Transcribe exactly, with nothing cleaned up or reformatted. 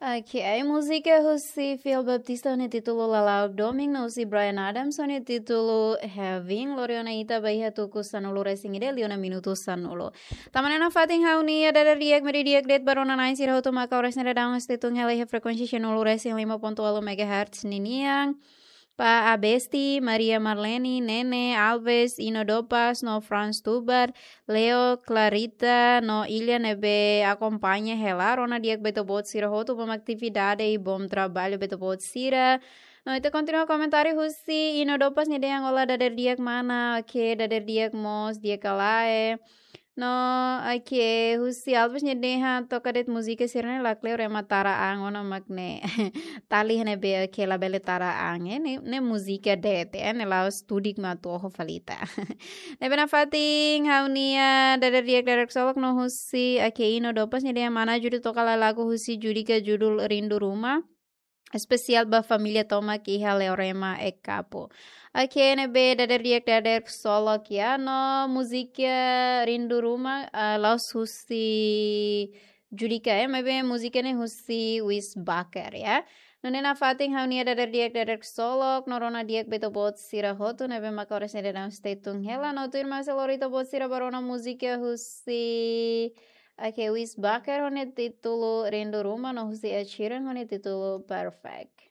Ok, ai múzika husi Fiel Baptista ho nia títulu Lala'ok Domin, no husi Bryan Adams ho nia títulu Heaven. Lori ona ita ba iha tuku sanulu resin ida liu ona minutu sanulu. Tama ona nafatin ha'u-nia dadeer-di'ak, media di'ak de'it ba rona-na'in sira hotu maka oras ne'e daudaun stay tune hela iha frekuénsia sanulu resin lima ponto ualu megahertz ninian. Ba Abesti, Maria Marlene, Nene, Alves, Ino Dopas, no Franz Tubar, Leo, Clarita, no Ilya ne'ebé akompaña hela, rona di'ak ba ita-boot sira hotu, bom atividade i bom trabalho ba ita-boot sira. No ita kontinua komentáriu husi Ino Dopas nia dehan: "Olá, dadeer-di'ak mana, ok, dadeer-di'ak mós, di'ak ka lae?" No, ok, husi Alves nia dehan: "Toka de'it múzika sira-ne'e, la kleur ema tara an ona mak ne'e." Tali ne'ebé, ok, labele tara an, eh, ne'e, ne'e múzika de'it, eh, ne'e la'ós tudik mak atu oho fali ita. Ne'ebé nafatin ha'u-nia dadeer-di'ak dadeer-ksolok no husi, ok, Ino Dopas nia dehan: "Mana Judi, toka lai lagu husi Judika judul Rindu Ruma. Espesiál ba família tomak iha Leorema, Ekapu." Ok, ne'ebé dadeer-di'ak dadeer-ksolok ya, no múzika Rindu Ruma, ah, la'ós husi Judika, eh, maibé múzika ne'e husi Wis Baker ya. Nune'e nafatin ha'u-nia dadeer-di'ak dadeer-ksolok, no rona di'ak ba ita-boot sira hotu ne'ebé maka oras ne'e daudaun stay tune hela, no tuirmai sei lori ita-boot sira ba rona múzika husi, ok, Wis Baker ho nia títulu Rindu Ruma, no husi Ed Sheeran ho nia títulu Perfect.